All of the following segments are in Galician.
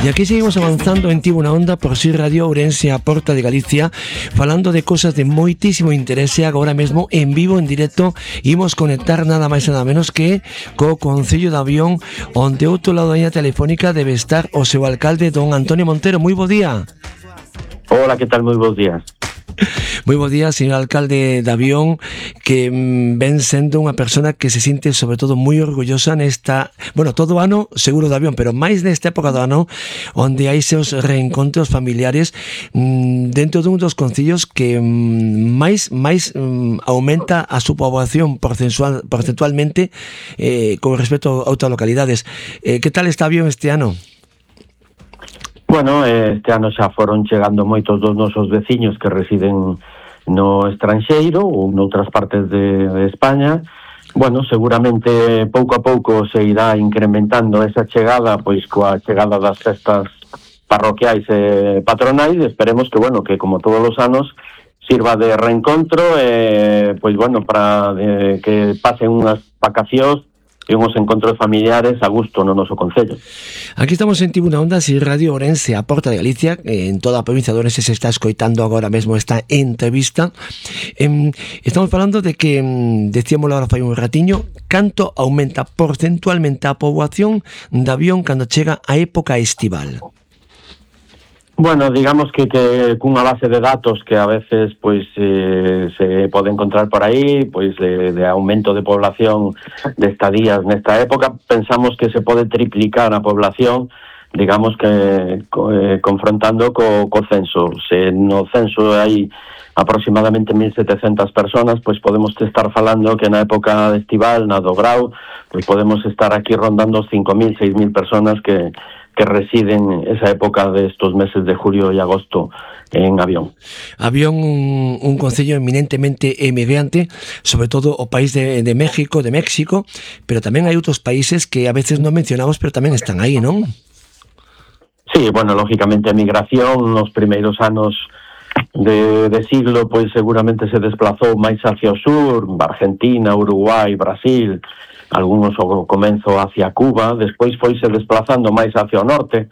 E aquí seguimos avanzando en Tivo na Onda por Si Radio Ourense, a porta de Galicia, falando de cosas de moitísimo interese. Agora mesmo en vivo, en directo, imos conectar nada máis e nada menos que co Concello de Avión, onde outro lado da liña telefónica debe estar o seu alcalde, don Antonio Montero. Moi bo día. Hola, que tal? Moi bons días. Moi bo día, señor alcalde de Avión, que ven sendo unha persona que se sinte sobre todo moi orgullosa nesta, bueno, todo o ano seguro de Avión, pero máis nesta época do ano onde hai seus reencontros familiares dentro dun dos concellos que máis aumenta a súa poboación porcentualmente con respecto a outras localidades. Que tal está Avión este ano? Bueno, este ano xa foron chegando moitos dos nosos veciños que residen no estranxeiro ou noutras partes de España. Bueno, seguramente pouco a pouco se irá incrementando esa chegada, pois coa chegada das festas parroquiais e patronais. Esperemos que, bueno, que como todos os anos sirva de reencontro, pois bueno, para que pasen unhas vacacións e uns encontros familiares a gusto no noso concello. Aquí estamos en Tivo na Onda, Si Radio Ourense, a porta de Galicia. En toda a provincia de Ourense se está escoitando agora mesmo esta entrevista. Estamos falando de que, decíamos agora fai un ratiño, canto aumenta porcentualmente a poboación de Avión cando chega a época estival. Bueno, digamos que cunha base de datos que a veces pois se pode encontrar por aí, pois de aumento de población de estadías nesta época, pensamos que se pode triplicar a población, digamos que confrontando co censo. Se no censo hai aproximadamente 1.700 personas, pois podemos estar falando que na época estival, na do grau, pois podemos estar aquí rondando os 5.000, 6.000 personas que residen esa época de estos meses de julio y agosto en Avión. Avión, un concello eminentemente emigrante, sobre todo o país de México, pero tamén hai outros países que a veces non mencionamos, pero tamén están aí, non? Sí, bueno, lógicamente a migración nos primeiros anos de siglo, pois seguramente se desplazou máis hacia o sur, Argentina, Uruguai, Brasil, algúns ao comenzo hacia Cuba, despois foise desplazando máis hacia o norte,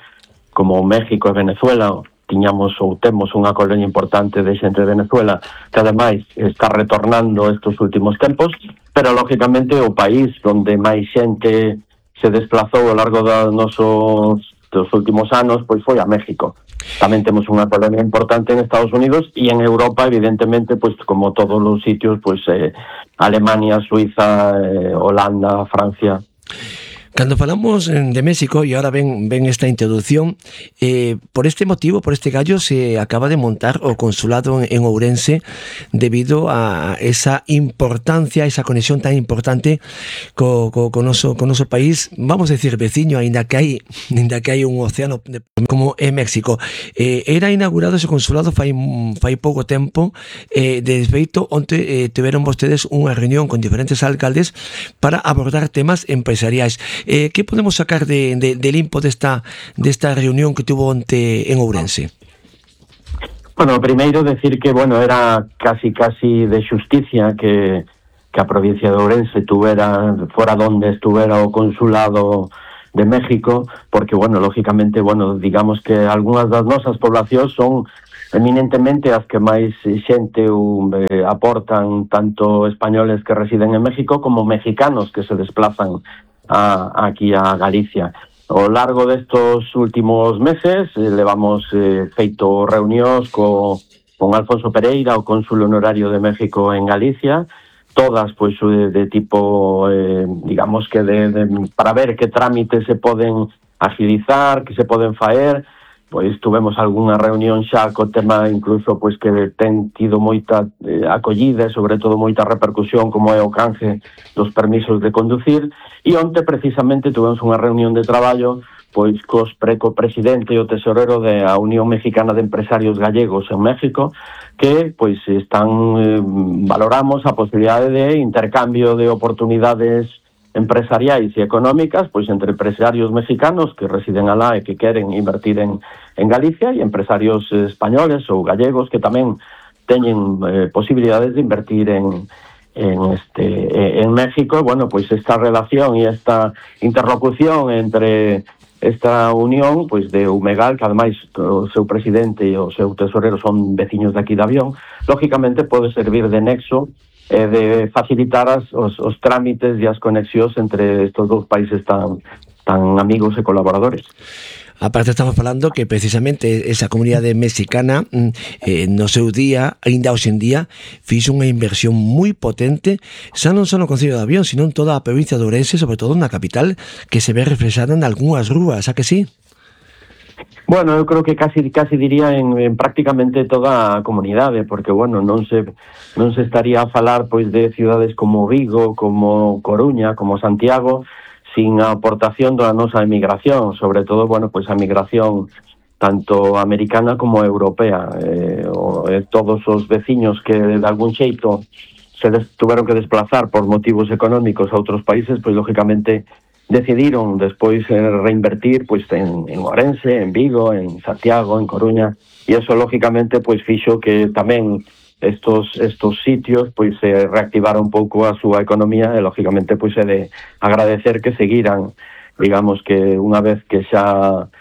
como México e Venezuela. Tiñamos ou temos unha colonia importante de xente de Venezuela que ademais está retornando estes últimos tempos, pero lógicamente o país onde máis xente se desplazou ao largo dos últimos anos pois foi a México. Tamén temos unha colonia importante en Estados Unidos e en Europa, evidentemente, pois como todos os sitios, pois Alemania, Suiza, Holanda, Francia. Cando falamos de México, e ahora ven esta introducción, por este motivo, por este gallo, se acaba de montar o consulado en Ourense debido a esa importancia, esa conexión tan importante co noso país, vamos a decir veciño, ainda que hai un océano como é México. Era inaugurado ese consulado fai pouco tempo, de feito, onde tiveron vostedes unha reunión con diferentes alcaldes para abordar temas empresariais. Que podemos sacar de limpo desta reunión que tuvo onte en Ourense? Bueno, primeiro decir que, bueno, era casi de xusticia que a provincia de Ourense fora donde estuvera o consulado de México, porque, bueno, lógicamente, bueno, digamos que algunhas das nosas poblacións son eminentemente as que máis xente aportan, tanto españoles que residen en México como mexicanos que se desplazan aquí a Galicia. Ao largo destos últimos meses levamos feito reunións con Alfonso Pereira, o cónsul honorario de México en Galicia, todas pois de tipo, digamos que para ver que trámites se poden agilizar, que se poden faer. Pois tuvemos algunha reunión xa co tema incluso pois que ten tido moita acollida e sobre todo moita repercusión como é o canje dos permisos de conducir, e onte precisamente tuvemos unha reunión de traballo pois co presidente e o tesorero da Unión Mexicana de Empresarios Gallegos en México, que pois valoramos a posibilidade de intercambio de oportunidades empresariais e económicas pois entre empresarios mexicanos que residen alá e que queren invertir en Galicia e empresarios españoles ou gallegos que tamén teñen posibilidades de invertir en México. Bueno, pois esta relación e esta interlocución entre esta unión pois de Umegal, que ademais o seu presidente e o seu tesorero son veciños de aquí de Avión, lógicamente pode servir de nexo e de facilitar os trámites e as conexións entre estes dous países tan amigos e colaboradores. Aparte estamos falando que precisamente esa comunidade mexicana no seu día, ainda hoxe en día, fixo unha inversión moi potente, xa non só no Concello de Avión, sino en toda a provincia de Ourense, sobre todo na capital, que se ve reflexada en algunhas rúas, a que sí? Bueno, eu creo que casi diría en prácticamente toda a comunidade, porque, bueno, non se estaría a falar pois de cidades como Vigo, como Coruña, como Santiago, sin a aportación da nosa emigración, sobre todo, bueno, pois a migración tanto americana como europea. Todos os veciños que de algún xeito tuveron que desplazar por motivos económicos a outros países, pois lógicamente decidiron despois reinvertir pois en Ourense, en Vigo, en Santiago, en Coruña, e eso lógicamente pois fixo que tamén estos sitios pois se reactivara un pouco a súa economía e lógicamente pois é de agradecer que seguiran, digamos que unha vez que xa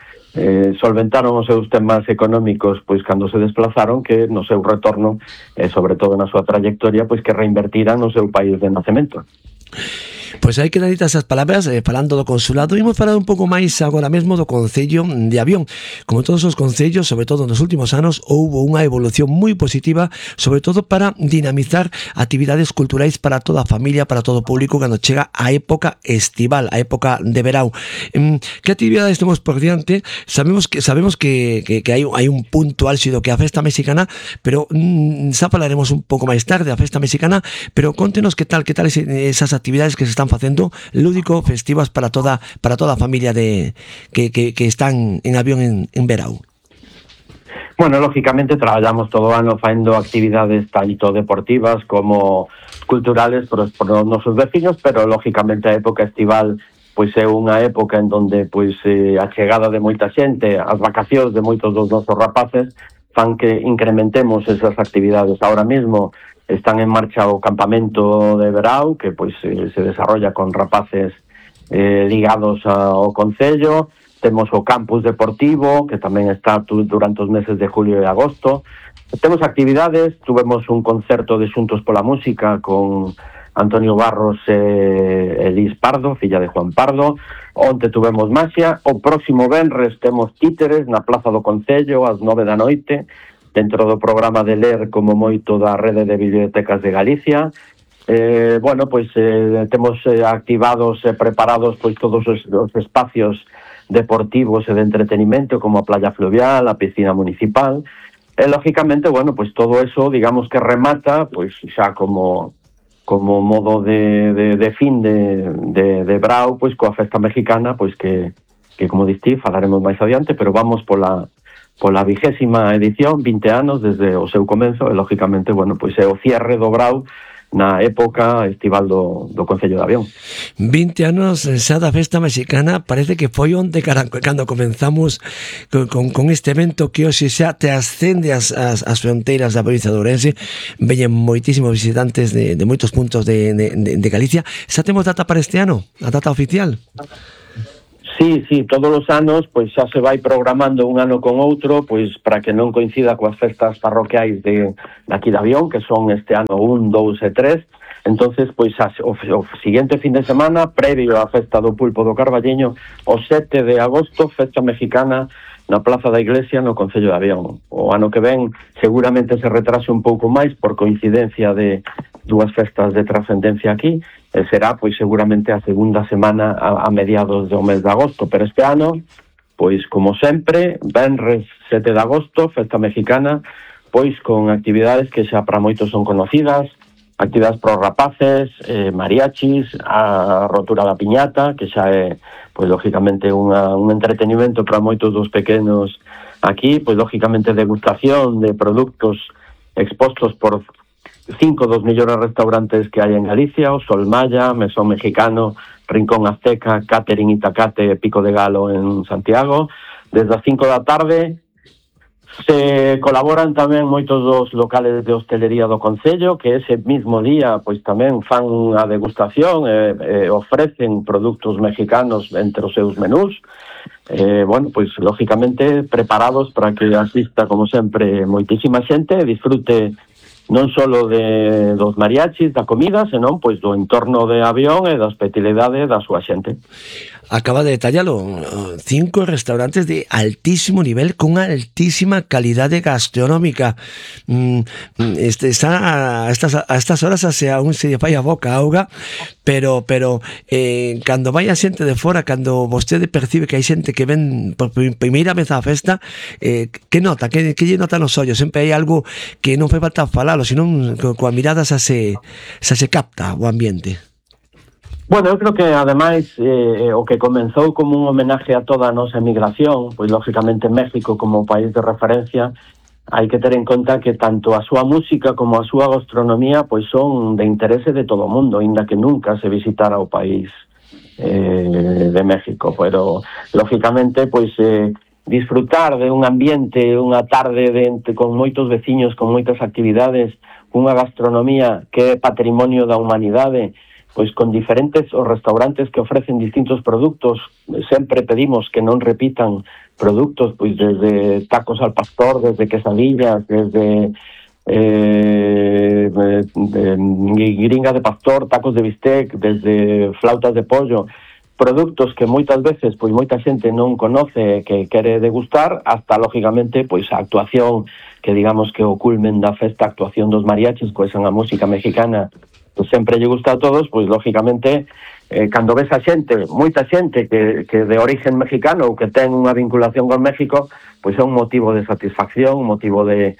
solventaron os seus temas económicos pois cando se desplazaron, que no seu retorno e sobre todo na súa trayectoria pois que reinvertiran no seu país de nacemento. Pois hai que dar esas palabras, falando do consulado, imos falar un pouco máis agora mesmo do Concello de Avión. Como todos os concellos, sobre todo nos últimos anos, houbo unha evolución moi positiva, sobre todo para dinamizar actividades culturais para toda a familia, para todo o público, cando chega a época estival, a época de verão. Que actividades temos por diante? Sabemos que hai un punto álxido que é a festa mexicana, pero xa falaremos un pouco máis tarde a festa mexicana, pero contenos que tal esas actividades que se están facendo lúdico, festivas para toda a familia que están en Avión en verão. Bueno, lógicamente traballamos todo o ano facendo actividades tanto deportivas como culturales por os nosos veciños, pero lógicamente a época estival pois é unha época en donde pois a chegada de moita xente, as vacacións de moitos dos nosos rapaces fan que incrementemos esas actividades. Ahora mismo están en marcha o campamento de verão, que pois se desarrolla con rapaces ligados ao Concello. Temos o campus deportivo, que tamén está durante os meses de julio e agosto. Temos actividades, tuvemos un concerto de Xuntos pola Música con Antonio Barros e Elis Pardo, filla de Juan Pardo. Onte tuvemos maxia. O próximo venres temos títeres na Plaza do Concello ás 9 da noite, dentro do programa de ler como moito da Rede de Bibliotecas de Galicia. Bueno, pois temos activados e preparados pois todos os espacios deportivos e de entretenimento como a playa fluvial, a piscina municipal. E lógicamente, bueno, pois todo eso, digamos que remata pois xa como modo de fin de brau, pois coa festa mexicana, pois que como distí, falaremos máis adiante, pero vamos pola 20ª edición, 20 anos desde o seu comenzo, e lógicamente, bueno, pois é o cierre do brau na época estival do Concello de Avión. 20 anos xa da festa mexicana, parece que foi onde cando comenzamos con este evento que hoxe xa te ascende as fronteiras da provincia de Ourense, veñen moitísimos visitantes de moitos puntos de Galicia. Xa temos data para este ano? A data oficial? Sí, todos os anos pois xa se vai programando un ano con outro, pois para que non coincida coas festas parroquiais de aquí de Avión, que son este ano 1, 2 e 3. Entonces, pois o seguinte fin de semana, previo á festa do Pulpo do Carballiño, o 7 de agosto, festa mexicana na Plaza da Iglesia no Concello de Avión. O ano que ven seguramente se retrase un pouco máis por coincidencia de dúas festas de trascendencia aquí, e será pois seguramente a segunda semana a mediados do mes de agosto, pero este ano, pois como sempre, venres 7 de agosto, festa mexicana, pois con actividades que xa para moitos son conocidas, actividades para os rapaces, mariachis, a rotura da piñata, que xa é, pois lógicamente un entretenimento para moitos dos pequenos aquí, pois lógicamente degustación de produtos expostos por 5 dos mellores restaurantes que hai en Galicia, o Sol Maya, Mesón Mexicano, Rincón Azteca, Catering Itacate, Pico de Galo en Santiago. Desde as 5 da tarde se colaboran tamén moitos dos locales de hostelería do Concello, que ese mismo día pois tamén fan a degustación e ofrecen produtos mexicanos entre os seus menús. bueno, pois lógicamente preparados para que asista como sempre moitísima xente e disfrute non só dos mariachis, da comida, senón pois do entorno de avión e da hospitalidade da súa xente. Acaba de detallarlo, 5 restaurantes de altísimo nivel con altísima calidade gastronómica. Está a estas horas aún se fai a boca auga, pero cando vai a xente de fora, cando vostede percibe que hai xente que ven por primeira vez á festa, que nota? Que lle nota nos ollos? Sempre hai algo que non fai falta falalo, senón coa mirada xa se capta o ambiente. Bueno, eu creo que ademais o que comenzou como un homenaje a toda a nosa emigración, pois lógicamente México como país de referencia, hai que ter en conta que tanto a súa música como a súa gastronomía pois son de interese de todo o mundo, aínda que nunca se visitara o país de México, pero lógicamente pois disfrutar de un ambiente, unha tarde con moitos veciños, con moitas actividades, unha gastronomía que é patrimonio da humanidade, pois con diferentes os restaurantes que ofrecen distintos produtos. Sempre pedimos que non repitan produtos, pois desde tacos al pastor, desde quesadillas, desde gringa de pastor, tacos de bistec, desde flautas de pollo, produtos que moitas veces pois moita xente non conoce, que quere degustar, hasta lógicamente pois a actuación, que digamos que o culmen da festa, a actuación dos mariachis, pois a música mexicana, pues sempre lle gusta a todos, pois lógicamente cando ves a xente, moita xente que de origen mexicano ou que ten unha vinculación con México, pois é un motivo de satisfacción, un motivo de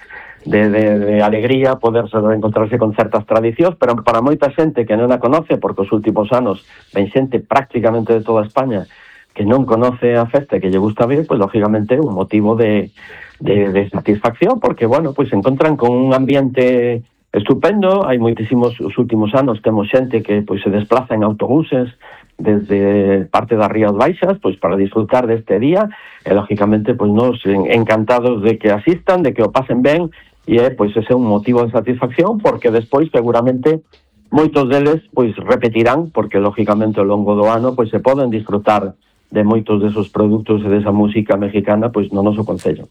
alegría poder encontrarse con certas tradicións, pero para moita xente que non a conoce, porque os últimos anos ven xente prácticamente de toda España que non conoce a festa e que lle gusta ver, pois lógicamente un motivo de satisfacción, porque bueno, pois se encontran con un ambiente estupendo. Hai moitísimos, os últimos anos temos xente que pois se desplaza en autobuses desde parte das Rías Baixas pois para disfrutar deste día, e lógicamente pois nos encantados de que asistan, de que o pasen ben, e pois ese é un motivo de satisfacción, porque despois seguramente moitos deles pois repetirán, porque lógicamente ao longo do ano pois se poden disfrutar de moitos desos produtos e desa música mexicana pois no noso concello.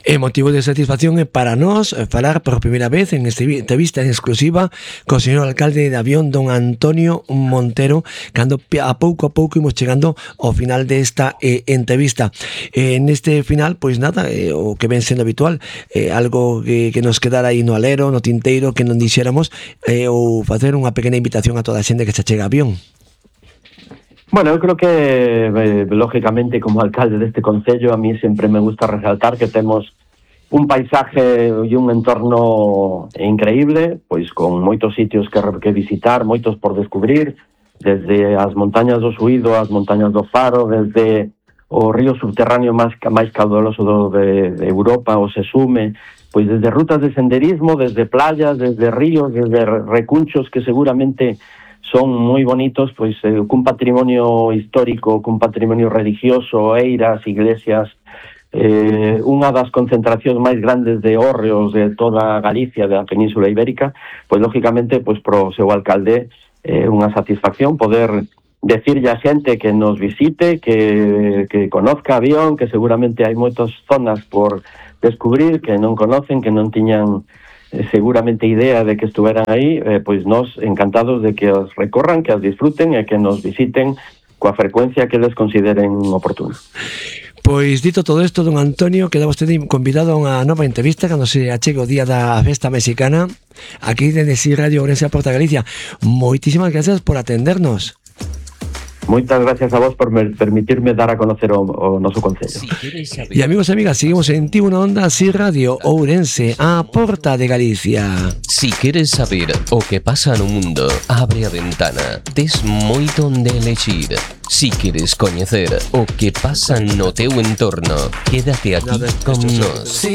É motivo de satisfacción para nós falar por primeira vez en esta entrevista en exclusiva co señor alcalde de Avión, don Antonio Montero, cando a pouco imos chegando ao final desta entrevista. Neste final, pois nada, o que ven sendo habitual, algo que nos quedara aí no alero, no tinteiro, que non dixéramos, ou facer unha pequena invitación a toda a xente que se chega a Avión. Bueno, eu creo que, lógicamente, como alcalde deste concello, a mí sempre me gusta resaltar que temos un paisaje e un entorno increíble, pois con moitos sitios que visitar, moitos por descubrir, desde as montañas do Suído, as montañas do Faro, desde o río subterráneo máis caudaloso de Europa, o Sesume, pois desde rutas de senderismo, desde playas, desde ríos, desde recunchos que seguramente son moi bonitos, pois cun patrimonio histórico, cun patrimonio religioso, eiras, iglesias, unha das concentracións máis grandes de hórreos de toda Galicia, da Península Ibérica, pois lógicamente pois pro seu alcalde unha satisfacción poder decirlle a xente que nos visite, que conozca Avión, que seguramente hai moitas zonas por descubrir que non conocen, que non tiñan seguramente idea de que estuveran aí, pois nós encantados de que os recorran, que os disfruten e que nos visiten coa frecuencia que les consideren oportuna. Pois dito todo isto, don Antonio, queda vostede convidado a unha nova entrevista cando se achegue o día da festa mexicana aquí dende Si Radio Ourense a Porta Galicia. Moitísimas gracias por atendernos. Moitas gracias a vos por permitirme dar a conocer o noso concello. E amigos e amigas, seguimos en Tibo na Onda, Si Radio Ourense, a Porta de Galicia. Si queres saber o que pasa no mundo, abre a ventana. Tes moito onde elexir. Si queres coñecer o que pasa no teu entorno, quédate aquí con nós.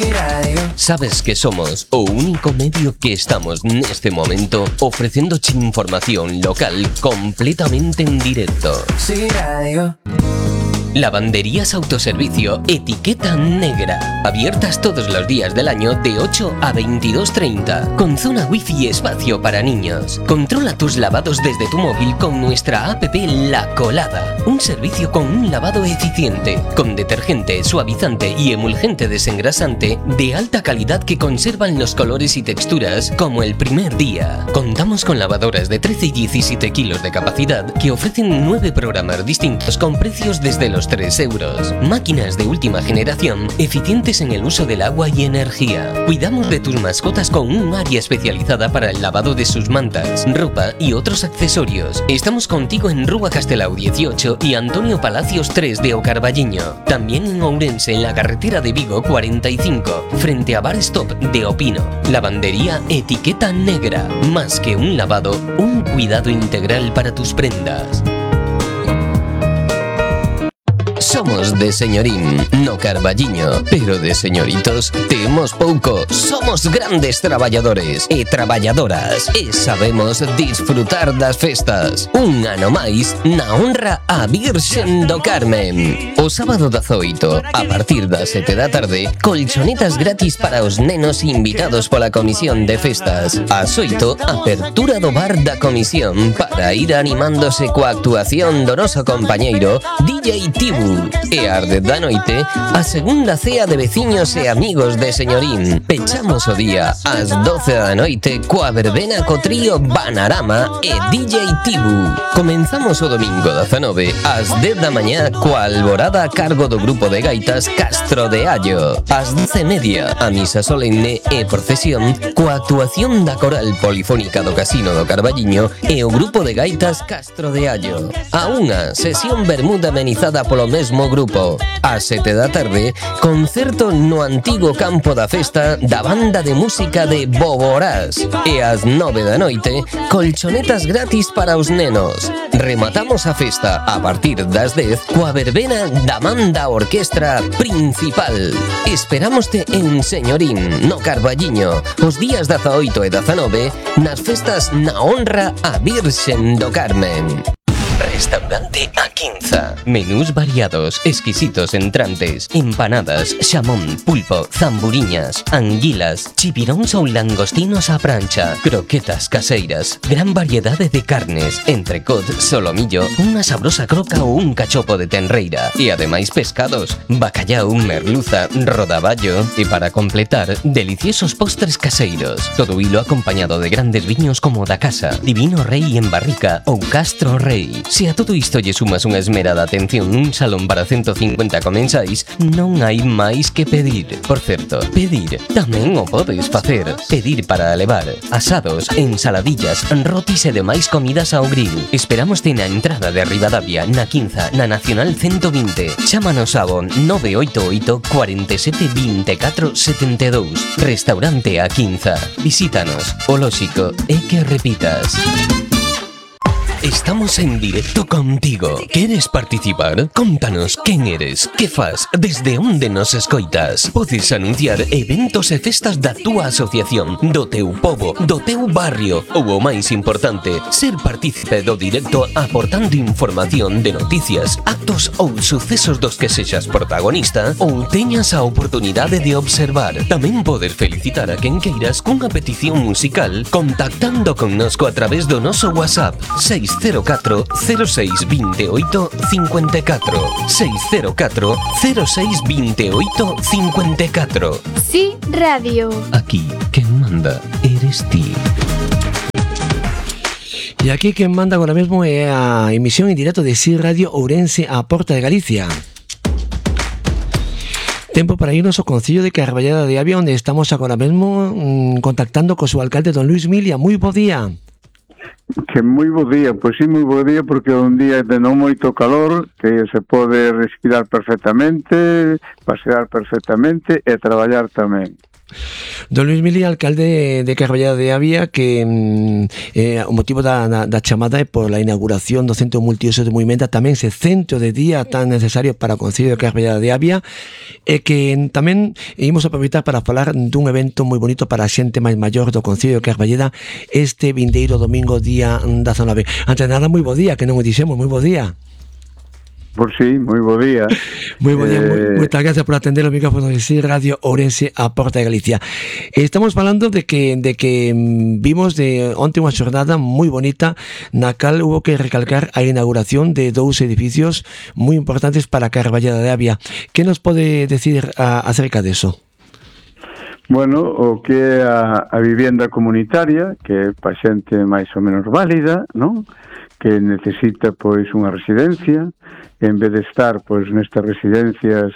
Sabes que somos o único medio que estamos neste momento ofrecéndoche información local completamente en directo. Si Radio. Lavanderías Autoservicio Etiqueta Negra. Abiertas todos los días del año de 8 a 22:30. Con zona wifi y espacio para niños. Controla tus lavados desde tu móvil con nuestra app La Colada. Un servicio con un lavado eficiente. Con detergente, suavizante y emulgente desengrasante de alta calidad que conservan los colores y texturas como el primer día. Contamos con lavadoras de 13 y 17 kilos de capacidad que ofrecen 9 programas distintos con precios desde los 3 euros. Máquinas de última generación, eficientes en el uso del agua y energía. Cuidamos de tus mascotas con un área especializada para el lavado de sus mantas, ropa y otros accesorios. Estamos contigo en Rúa Castelao 18 y Antonio Palacios 3 de Ocarballiño. También en Ourense, en la carretera de Vigo 45, frente a Bar Stop de Opino. Lavandería Etiqueta Negra. Más que un lavado, un cuidado integral para tus prendas. Somos de señorín, no carballiño, pero de señoritos temos pouco. Somos grandes traballadores e traballadoras e sabemos disfrutar das festas. Un ano máis na honra a Virxen do Carmen. O sábado 18, a partir das 7 da tarde, colchonetas gratis para os nenos invitados pola Comisión de Festas. Ás 8, apertura do bar da comisión para ir animándose coa actuación do noso compañeiro DJ Tibu. E ás 10 da noite, a segunda cea de veciños e amigos de señorín. Pechamos o día ás 12 da noite coa verbena co trío Banarama e DJ Tibu. Comenzamos o domingo 19 ás 10 da mañá coa alborada a cargo do grupo de gaitas Castro de Allo. Ás 12:30 a misa solemne e procesión coa actuación da coral polifónica do Casino do Carballiño e o grupo de gaitas Castro de Allo. A unha sesión bermuda amenizada polo mesmo grupo. Ás 7 da tarde, concerto no antigo campo da festa da banda de música de Boborás. E ás 9 da noite, colchonetas gratis para os nenos. Rematamos a festa a partir das 10 coa verbena da Manda Orquestra Principal. Esperámoste en Señorín, no Carballiño, os días 18 e 19, nas festas na honra a Virxen do Carmen. Restaurante A Quinza. Menús variados, exquisitos entrantes, empanadas, xamón, pulpo, zamburiñas, anguilas, chipiróns ou langostinos á prancha, croquetas caseiras, gran variedade de carnes, entrecot, solomillo, unha sabrosa croca ou un cachopo de tenreira, e ademais pescados, bacallau, merluza, rodaballo, e para completar, deliciosos postres caseiros. Todo hilo acompañado de grandes viños como da casa, Divino Rei en barrica ou Castro Rei. Se a todo isto lle sumas unha esmerada atención nun salón para 150 comensais, non hai máis que pedir. Por certo, pedir tamén o podes facer. Pedir para levar asados, ensaladillas, rotis e demais comidas ao grill. Esperámoste na entrada de Ribadavia, na Quinza, na Nacional 120. Chámanos ao 988 47 24 72. Restaurante A Quinza. Visítanos. O lóxico é que repitas. Estamos en directo contigo. ¿Quieres participar? Contanos quen eres, que fas, desde onde nos escoitas. Podes anunciar eventos e festas da túa asociación, do teu pobo, do teu barrio ou o máis importante, ser partícipe do directo aportando información de noticias, actos ou sucesos dos que sexas protagonista ou teñas a oportunidade de observar. Tamén podes felicitar a quen queiras cunha petición musical contactando connosco a través do noso WhatsApp 604 06 28 54 604 06 28 54. Sí, radio. Aquí quen manda eres ti. E aquí quen manda agora mesmo é a emisión en directo de Sí Radio Ourense a Porta de Galicia. Tempo para irnos ao Concello de Carballeda de Avia, onde estamos agora mesmo contactando co seu alcalde, don Luis Milia. Moi bo día. Que moi bo día, pois sí, moi bo día, porque é un día de non moito calor, que se pode respirar perfectamente, pasear perfectamente e traballar tamén. Don Luis Milia, alcalde de Carballeda de Avia, que o motivo da chamada é por la inauguración do Centro Multiuso de Movimenta, tamén ese centro de día tan necesario para o Concello de Carballeda de Avia, e que tamén imos aproveitar para falar dun evento moi bonito para a xente máis maior do Concello de Carballeda este vindeiro domingo día 19. Antes de nada, moi bo día, que non o dixemos, moi bo día. Por si, moi bo día. Moi bo día, moitas gracias por atender o micrófono de SIR Radio Ourense a Porta de Galicia. Estamos falando de que vimos de onte unha xornada moi bonita na cal hubo que recalcar a inauguración de dous edificios moi importantes para a Carballeda de Avia. Que nos pode decir acerca deso? Bueno, o que é a vivenda comunitaria, que é pa xente máis ou menos válida, non? Que necesita pois unha residencia, en vez de estar pois nestas residencias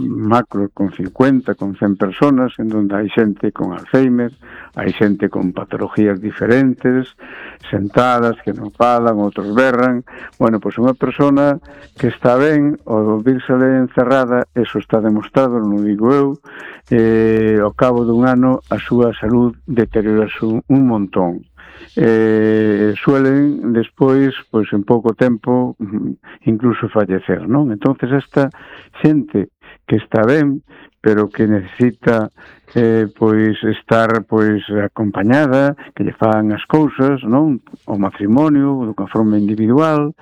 macro con 50, con 100 personas, en donde hai xente con Alzheimer, hai xente con patologías diferentes, sentadas, que non falan, outros berran. Bueno, pois unha persona que está ben, ao vírsele encerrada, eso está demostrado, non digo eu, ao cabo dun ano a súa salud deteriorase un montón. Suelen despois, pois en pouco tempo, incluso fallecer, non? Entonces esta xente que está ben, pero que necesita pois estar pois acompañada, que lle fan as cousas, non? O matrimonio, de unha forma individual,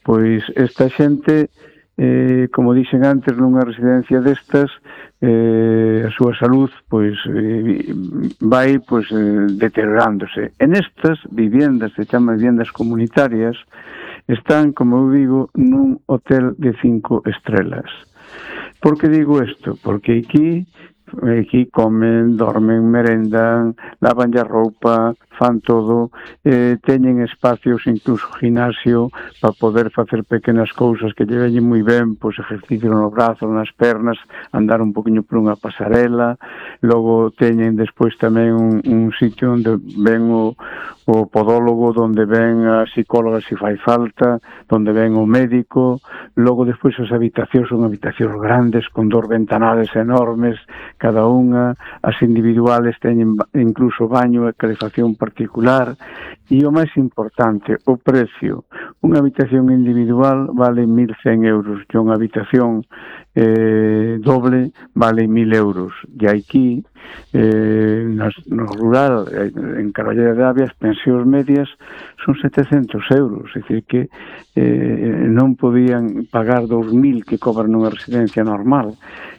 pois esta xente, como dixen antes, nunha residencia destas, a súa salud pois vai pois deteriorándose. En estas viviendas, se chaman viviendas comunitarias, están, como eu digo, nun hotel de 5 estrelas. Por que digo isto? Porque aquí comen, dormen, merendan, lavan a roupa, fan todo, teñen espacios, incluso gimnasio, para poder facer pequenas cousas que lle veñen moi ben, pois ejercicio nos brazos, nas pernas, andar un poquinho por unha pasarela. Logo teñen despois tamén un sitio onde ven o podólogo, onde ven a psicóloga se fai falta, onde ven o médico. Logo despois as habitacións son habitacións grandes, con 2 ventanales enormes, cada unha. As individuales teñen incluso baño e calefacción particular. E o máis importante, o precio. Unha habitación individual vale 1.100 euros e unha habitación doble vale 1.000 euros. E aquí, no rural, en Carballeda de Avia, as pensións medias son 700 euros. É dicir que non podían pagar 2.000 que cobran nunha residencia normal.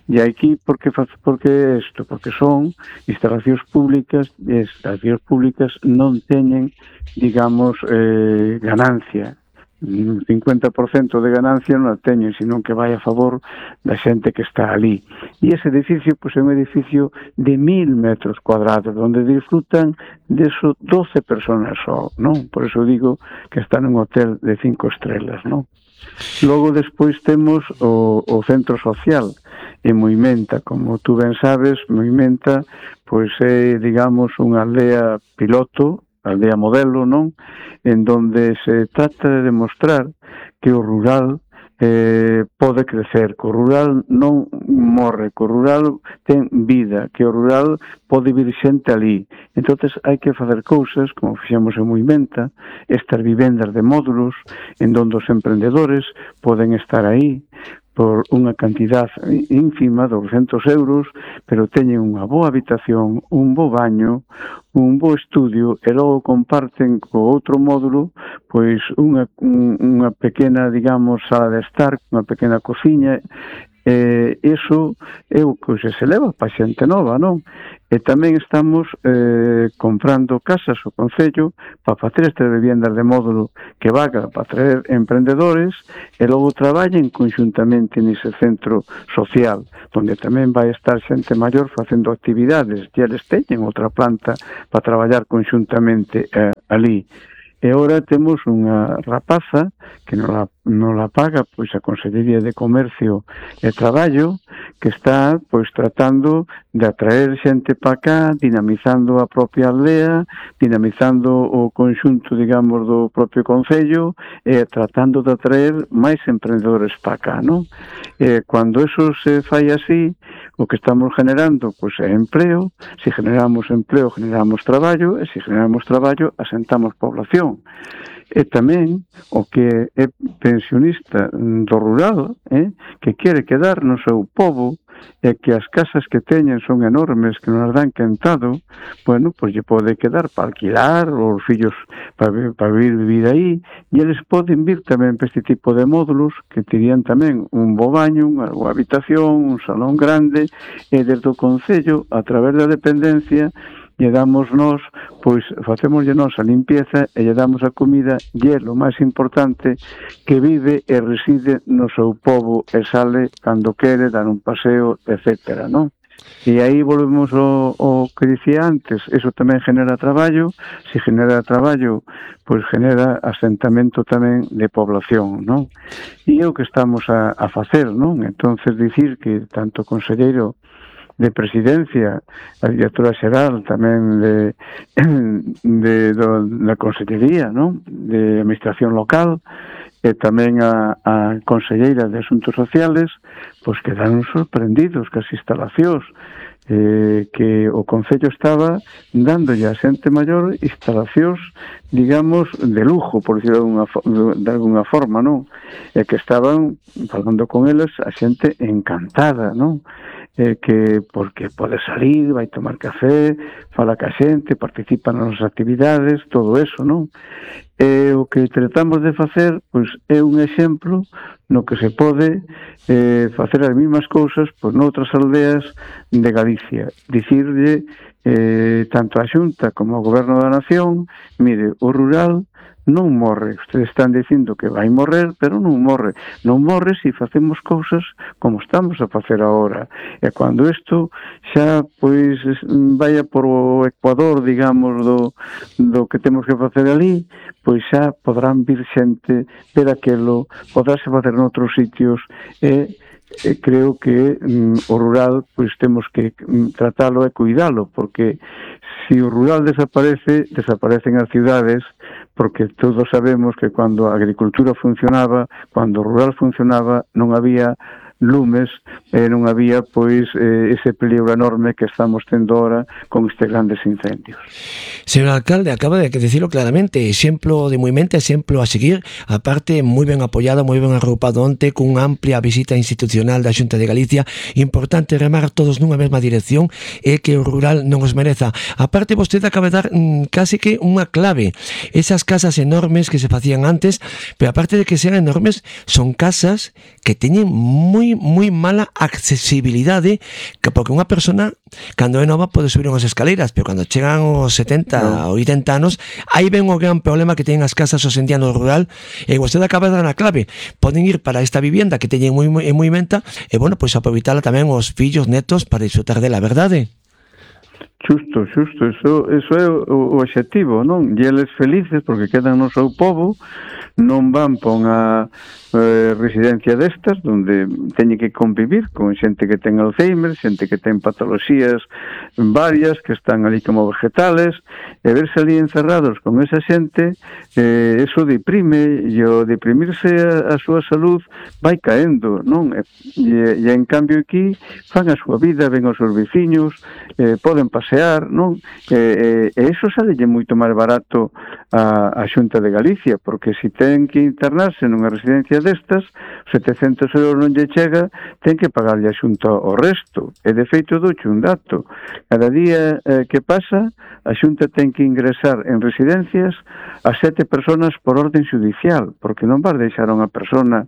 E aquí, por que isto? Porque son instalacións públicas, e as instalacións públicas non teñen, digamos, ganancia. Un 50% de ganancia non a teñen, senón que vai a favor da xente que está ali. E ese edificio, pois, é un edificio de 1.000 metros cuadrados, onde disfrutan de eso 12 personas só, non? Por eso digo que está nun hotel de 5 estrelas, non? Logo despois temos o centro social en Moimenta. Como tú ben sabes, Moimenta pois é, digamos, unha aldea piloto, aldea modelo, non? En donde se trata de demostrar que o rural pode crecer, que o rural non morre, que o rural ten vida, que o rural pode vir xente ali. Entonces hai que facer cousas, como fixemos en Moimenta, estas vivendas de módulos, en donde os emprendedores poden estar aí por unha cantidad ínfima, 200 euros, pero teñen unha boa habitación, un bo baño, un bo estudio, e logo comparten co outro módulo pois unha pequena, digamos, sala de estar, unha pequena cociña. Iso é o que se leva para xente nova, non? E tamén estamos comprando casas o Concello para facer estas viviendas de módulo que vaga para traer emprendedores e logo traballen conjuntamente nese centro social, onde tamén vai estar xente maior facendo actividades, e eles teñen outra planta para traballar conjuntamente ali. E agora temos unha rapaza que non la paga pois a Consellería de Comercio e Traballo, que está pois tratando de atraer xente para cá, dinamizando a propia aldea, dinamizando o conxunto, digamos, do propio Concello e tratando de atraer máis emprendedores para cá, non? Cando eso se fai así, o que estamos generando pois é empleo. Se generamos empleo, generamos traballo, e se generamos traballo, asentamos población. E tamén o que é pensionista do rural, que quere quedar no seu pobo, é que as casas que teñen son enormes, que non as dan quentado, bueno, pois lle pode quedar para alquilar, os fillos para vivir aí, e eles poden vir tamén para este tipo de módulos que terían tamén un bo baño, unha habitación, un salón grande, e desde o Concello, a través da dependencia, lle damos nós, pois facémoslle nós a limpieza e lle damos a comida, e é o máis importante, que vive e reside no seu pobo e sale cando quere, dar un paseo, etcétera, non? E aí volvemos ao que dicía antes, eso tamén genera traballo, se genera traballo, pois genera asentamento tamén de población, non? E é o que estamos a facer, non? Entonces dicir que tanto o conselleiro de Presidencia, a directora xeral tamén da Consellería, non? De Administración Local, e tamén a Conselleira de Asuntos Sociales, pois quedaron sorprendidos que as instalacións que o Concello estaba dándolle a xente maior instalacións, digamos, de lujo, por decirlo de alguna forma, non? E que estaban falando con eles a xente encantada, non? Que porque pode salir, vai tomar café, fala ca xente, participa nas actividades, todo eso, non? E o que tratamos de facer, pois, é un exemplo no que se pode facer as mesmas cousas pois, noutras aldeas de Galicia. Dicirlle tanto a Xunta como ao Goberno da Nación, mire, o rural non morre. Ustedes están dicindo que vai morrer, pero non morre. Non morre se facemos cousas como estamos a facer agora. E cando isto xa pois vaya por o ecuador, digamos, do que temos que facer ali, pois xa podrán vir xente ver aquelo, podráse facer noutros sitios e creo que o rural pois temos que tratalo e cuidalo, porque se o rural desaparece, desaparecen as cidades, porque todos sabemos que cando a agricultura funcionaba, cando o rural funcionaba, non había lumes e non había pois ese peligro enorme que estamos tendo ahora con estes grandes incendios. Señor alcalde, acaba de decirlo claramente, exemplo de movimento, exemplo a seguir, aparte moi ben apoiado, moi ben agrupado onte, cunha amplia visita institucional da Xunta de Galicia, importante remar todos nunha mesma dirección e que o rural non os mereza. Aparte, vostede acaba de dar casi que unha clave, esas casas enormes que se facían antes, pero aparte de que sean enormes, son casas que teñen moi mala accesibilidade, que porque unha persona cando é nova pode subir unhas escaleiras, pero cando chegan os 70 ou 80 anos, aí ven o gran problema que teñen as casas hoxe en día no rural, e vostede acaba de dar a clave, poden ir para esta vivienda que teñen moi menta, e bueno, pois aproveitala tamén os fillos, netos, para disfrutar dela, verdade? Xusto, eso é o obxectivo, non? E eles felices porque quedan no seu pobo, non van para unha residencia destas onde teñen que convivir con xente que ten Alzheimer, xente que ten patoloxías varias que están ali como vegetales, e verse ali encerrados con esa xente, eso deprime, e o deprimirse a súa salud vai caendo, non? E en cambio aquí fan a súa vida, ven os seus veciños, poden pasear, non? E iso salelle moito máis barato a Xunta de Galicia, porque se ten que internarse nunha residencia destas, 700 euros non lle chega, ten que pagarlle a Xunta o resto. E de feito douche un dato. Cada día que pasa, a Xunta ten que ingresar en residencias a 7 personas por orden judicial, porque non vas deixar a unha persona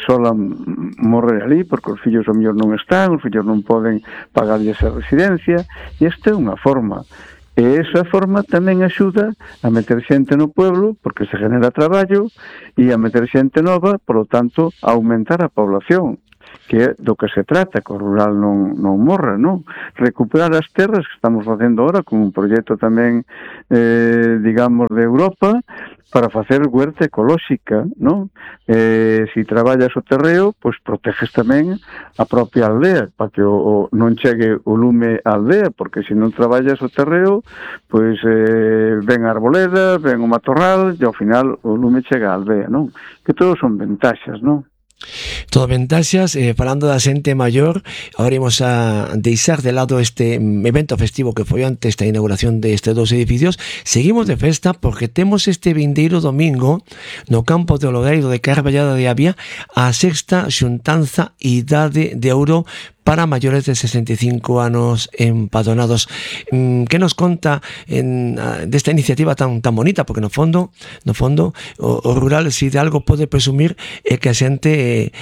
sola morrer ali, porque os fillos ao mellor non están, os fillos non poden pagarlle esa residencia, e esta é unha forma. E esa forma tamén axuda a meter xente no pueblo, porque se genera traballo, e a meter xente nova, por lo tanto, a aumentar a población, que é do que se trata, que o rural non morra, non? Recuperar as terras que estamos facendo ahora con un proxecto tamén, digamos, de Europa, para facer huerta ecolóxica, non? Se traballas o terreo, pois proteges tamén a propia aldea, para que non chegue o lume á aldea, porque se non traballas o terreo, pois ven a arboleda, ven o matorral, e ao final o lume chega á aldea, non? Que todos son ventaxas, non? Todo ventaxas, falando da xente maior, agora imos a deixar de lado este evento festivo que foi antes da inauguración destes dos edificios. Seguimos de festa porque temos este vindeiro domingo no campo de Ologueiro de Carballada de Avia a sexta xuntanza Idade de Ouro para maiores de 65 anos empadronados. Que nos conta desta iniciativa tan bonita? Porque no fondo o rural, se de algo pode presumir, é que a xente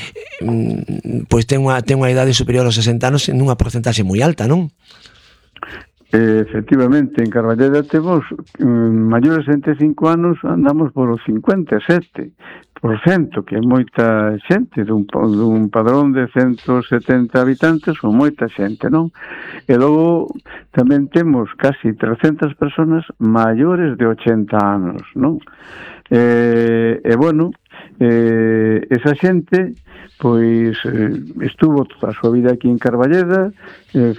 pois ten unha idade superior aos 60 anos nunha porcentaxe moi alta, non? Efectivamente, en Carballeda temos maiores de 65 anos, andamos por os 57%, que é moita xente dun padrón de 170 habitantes, ou moita xente, non? E logo tamén temos casi 300 personas maiores de 80 anos, non? Bueno, esa xente pois estuvo toda a súa vida aquí en Carballeda,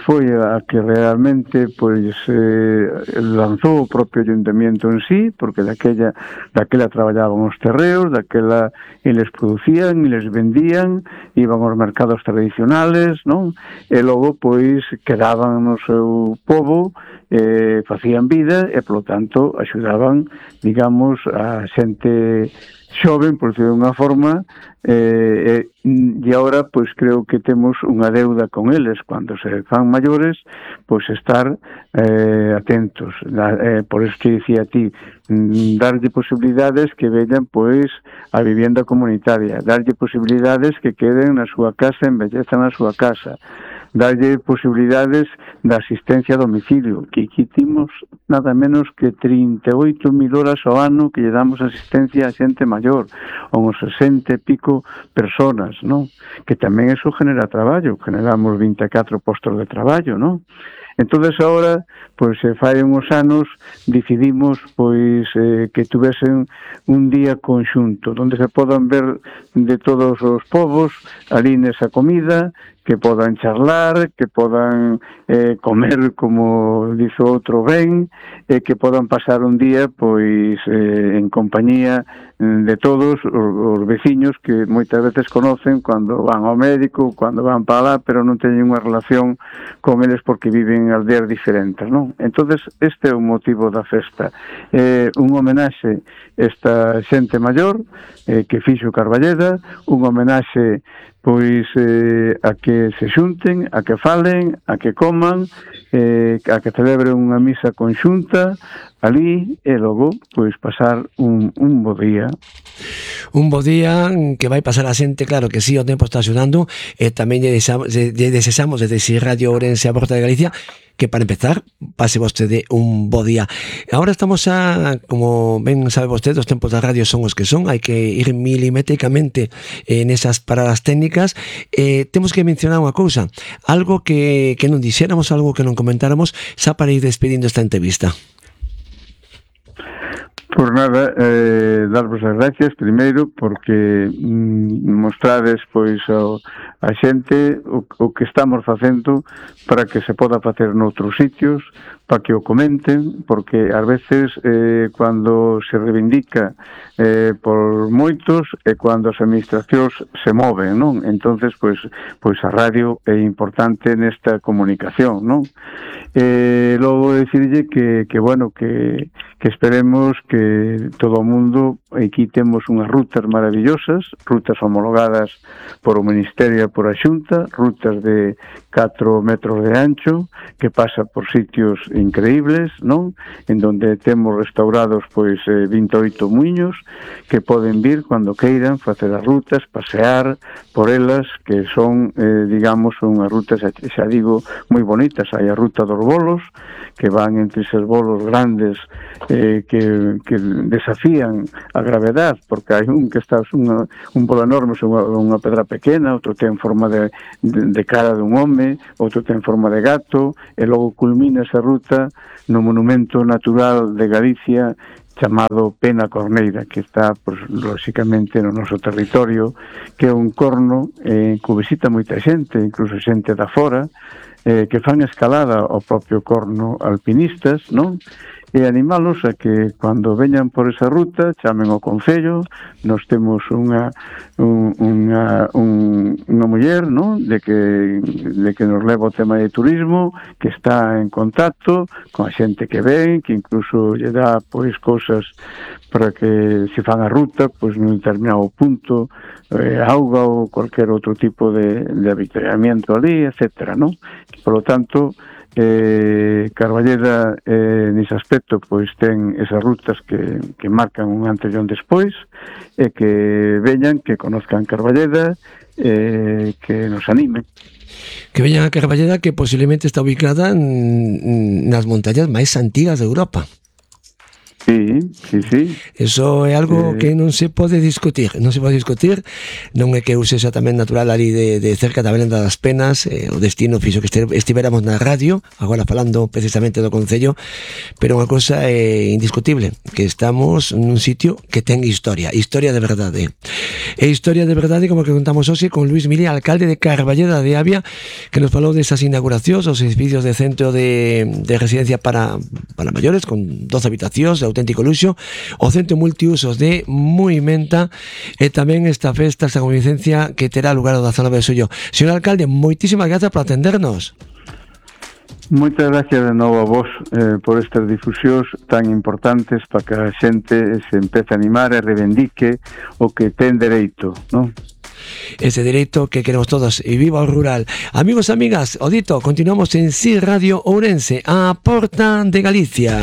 foi a que realmente pois lanzou o propio ayuntamiento en sí, porque daquela traballaban os terreos, daquela eles producían, eles vendían, iban aos mercados tradicionales, non? E logo pois quedaban no seu pobo, facían vida e, polo tanto, axudaban, digamos, a xente xoven, por decirlo de unha forma, e agora pois creo que temos unha deuda con eles cando se fan maiores, pois estar atentos, por eso que dicía a ti, darlle posibilidades que veñan pois a vivienda comunitaria, darlle posibilidades que queden na súa casa, embellezan na súa casa, darlle posibilidades de asistencia a domicilio, que aquí timos nada menos que 38.000 horas ao ano que lle damos asistencia a xente maior, uns 60 e pico personas, non? Que tamén eso genera traballo, generamos 24 postos de traballo, non? Entonces agora, pois se fai uns anos, decidimos pois que tuvesen un día conxunto, onde se podan ver de todos os povos ali nesa comida, que podan charlar, que podan comer, como dice outro ben, e que podan pasar un día pois en compañía de todos os veciños que moitas veces conocen cando van ao médico, cando van para lá, pero non teñen unha relación con eles porque viven en aldeas diferentes, non? Entonces, este é o motivo da festa. Un homenaxe esta xente maior que fixo Carballeda, un homenaxe pois a que se xunten, a que falen, a que coman, a que celebren unha misa conxunta ali e logo pois pasar un bo día. Un bo día que vai pasar a xente, claro que sí, o tempo está axudando, e tamén lle desexamos desde Radio Ourense a Porta de Galicia que, para empezar, pase vostede un bo día. Agora estamos como ben sabe vostede, os tempos da radio son os que son, hai que ir milimétricamente nesas paradas técnicas. Temos que mencionar unha cousa, algo que non dixéramos, algo que non comentáramos, xa para ir despedindo esta entrevista. Por nada, darvos as gracias primeiro porque mostrades pois a xente o que estamos facendo para que se poda facer noutros sitios, para que o comenten, porque ás veces cando se reivindica por moitos e cando as administracións se moven, non? Entonces, pois a radio é importante nesta comunicación, non? Logo decirlle que bueno, que esperemos que todo o mundo, aquí temos unhas rutas maravillosas, rutas homologadas por o Ministerio e por a Xunta, rutas de 4 metros de ancho, que pasa por sitios increíbles, non? En donde temos restaurados pois 28 muiños que poden vir cando queiran facer as rutas, pasear por elas, que son, digamos, unhas rutas, xa digo, moi bonitas. Hai a ruta dos bolos, que van entre eses bolos grandes que desafían a gravedade, porque hai un que está un bolo enorme sobre unha pedra pequena, outro ten forma de cara dun home, outro ten forma de gato, e logo culmina esa ruta no monumento natural de Galicia chamado Pena Corneira, que está, pues, lóxicamente no noso territorio, que é un corno que visita moita xente, incluso xente da fora, que fan escalada ao propio corno alpinistas, non? e animalos a que cando veñan por esa ruta chamen ao Concello. Nos temos unha muller, non? de que nos leva o tema de turismo, que está en contacto con a xente que ven, que incluso lle dá pois cousas para que se fan a ruta pois nun determinado punto, auga ou cualquier outro tipo de avituallamiento ali, etcétera, non? Por lo tanto, Carballeda nese aspecto pois ten esas rutas que marcan un antes e un despois, e que veñan, que conozcan Carballeda, que nos animen. Que veñan a Carballeda, que posiblemente está ubicada nas montañas máis antigas de Europa. Sí. Eso é algo que non se pode discutir. Non é que eu sexa tamén natural ali de cerca da Belenda das Penas, o destino fixo que estivéramos na radio, agora falando precisamente do Concello, pero unha cosa é indiscutible, que estamos nun sitio que ten historia de verdade. E historia de verdade, como que contamos hoxe con Luis Mili, alcalde de Carballeda de Avia, que nos falou desas inauguracións, os edificios de centro de residencia para maiores, con 12 habitacións, auténtico luxo, o centro multiusos de Muimenta, e tamén esta festa, esta convivencia que terá lugar o 19 de xullo. Señor alcalde, moitísimas grazas por atendernos. Moitas gracias de novo a vos por estas difusións tan importantes para que a xente se empece a animar e reivindique o que ten dereito, non? Ese dereito que queremos todos, e viva o rural. Amigos e amigas, o dito, continuamos en Si Radio Ourense, a porta de Galicia.